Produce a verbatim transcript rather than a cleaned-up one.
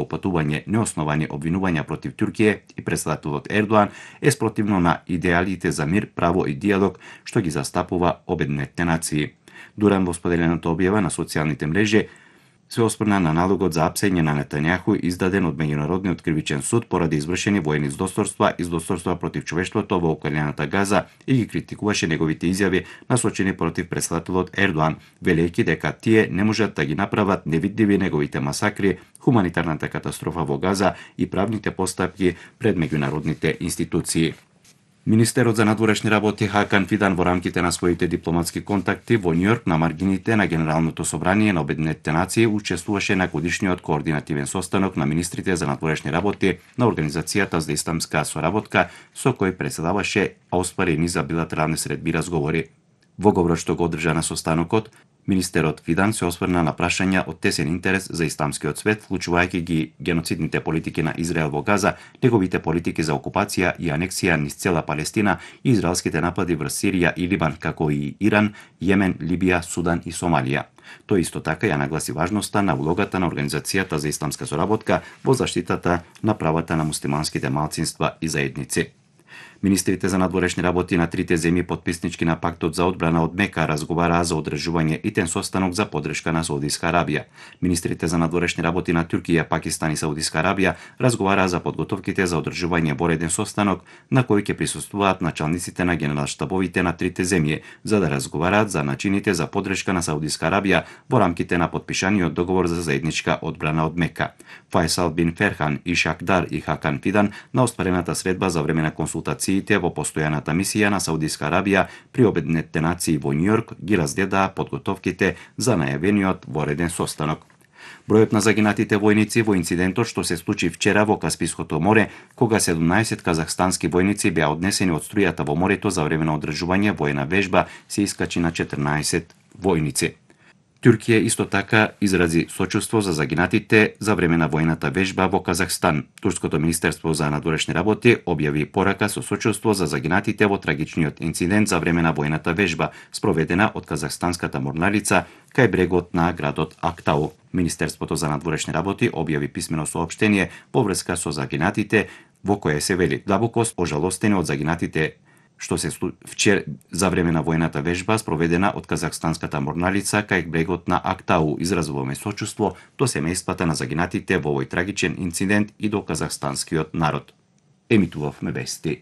опатување неосновани обвинувања против Туркија и председателот Ердоан е спротивно на идеалите за мир, право и диалог што ги застапува Обединетите нации. Дуран во споделената објава на социјалните мрежи се осврна на налогот за апсење на Нетањаху издаден од Меѓународниот кривичен суд поради извршени воени злосторства и злосторства против човештвото во околината Газа и ги критикуваше неговите изјави насочени против председателот Ердоан, велејќи дека тие не можат да ги направат невидливи неговите масакри, хуманитарната катастрофа во Газа и правните постапки пред меѓународните институции. Министерот за надворешни работи Хакан Фидан во рамките на своите дипломатски контакти во Њујорк на маргините на Генералното собрание на Обединетите нации учествуваше на годишниот координативен состанок на министрите за надворешни работи на Организацијата за исламска соработка, со кој претседаваше, а оствари низ за билатерални средби разговори. Во говорот што го одржа на состанокот, министерот Фидан се осврна на прашања од тесен интерес за исламскиот свет, вклучувајќи ги геноцидните политики на Израел во Газа, неговите политики за окупација и анексија низ цела Палестина и израелските напади врз Сирија и Либан, како и Иран, Јемен, Либија, Судан и Сомалија. Тој исто така ја нагласи важноста на улогата на Организацијата за исламска соработка во заштитата на правата на муслиманските малцинства и заедници. Министрите за надворешни работи на трите земји потписнички на пактот за одбрана од Мека разговараа за одржување итен состанок за поддршка на Саудиска Арабија. Министрите за надворешни работи на Туркија, Пакистан и Саудиска Арабија разговараа за подготовките за одржување вореден состанок на кој ќе присуствуваат началниците на генерал-штабовите на трите земји за да разговараат за начините за поддршка на Саудиска Арабија во рамките на потпишаниот договор за заедничка одбрана од Мека. Фајсал бин Ферхан и Шакдар и Хакан Фидан на остварената средба за време на консултациите во постојаната мисија на Саудиска Арабија при Обединетите нации во Њујорк ги разгледаа подготовките за најавениот вореден состанок. Бројот на загинатите војници во инцидентот што се случи вчера во Каспиското море, кога седумнаесет казахстански војници беа однесени од струјата во морето за време на одржување воена вежба, се искачи на четрнаесет војници. Туркија исто така изрази сочувство за загинатите за време на војната вежба во Казахстан. Турското министерство за надворешни работи објави порака со сочувство за загинатите во трагичниот инцидент за време на војната вежба, спроведена од казахстанската морнарица кај брегот на градот Актау. Министерството за надворешни работи објави писмено соопштение во врска со загинатите, во кое се вели: длабоко ожалостени од загинатите што се вчера за време на војната вежба спроведена од казахстанската морнарица кај брегот на Актау, изразуваме сочувство до семејствата на загинатите во овој трагичен инцидент и до казахстанскиот народ. Емитувавме вести.